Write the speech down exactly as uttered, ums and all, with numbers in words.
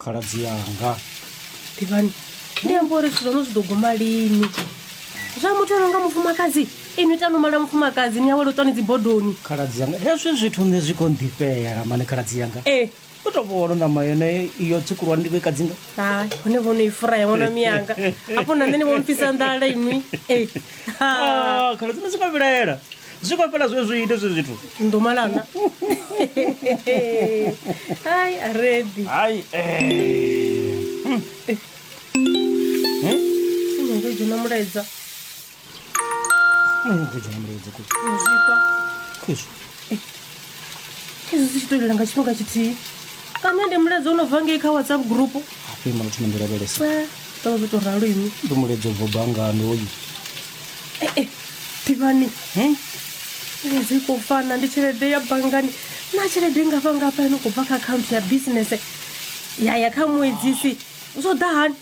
Khaladzi yanga. Ḓivhani, ndi amba uri zwithu zwaṋu zwi ḓo guma lini zwa muthu a no nga mufumakadzi? Inwi tanu mala mufumakadzi ni awele u ṱwani dzibodoni. Khaladzi yanga, hezwi zwithu nṋe zwi khou nḓifhela mani, khaladzi yanga. Ee. U tou vhona ṋama yone iyo tsikulwane ndi khou i kadzinga. Hai, hone vhono i furaya ṅwana miyanga hafho na nṋe ni vho mpfisa nḓala inwi e. Ah, khaladzi, nṋe zwi khou vhilaela, zwi khou fhela zwe zwi ite zwe zwithu. Ndo malana hai a ready. Hai eh. Inongo dzhena mulaedza. Khou dzhena mulaedza ku Zwifha. Khezwi. Hezwi zwi tshi to lela nga tshifhinga tshithihi, kana ndi mulaedza u no bva ngei kha WhatsApp group? Hafho ima, thoma ndi lavhelesa. Tovha zwo to ralo inwi. Ndi mulaedza ubva banngani hoyu. Ee, ḓivhani. Hmm? Mulaedza i khou fana, ndi tshelede ya banngani na tshelede ngafha ngafha ino khou bva kha akhaunthu ya bisinese ya ya kha muedzisi, zwo ḓa hani?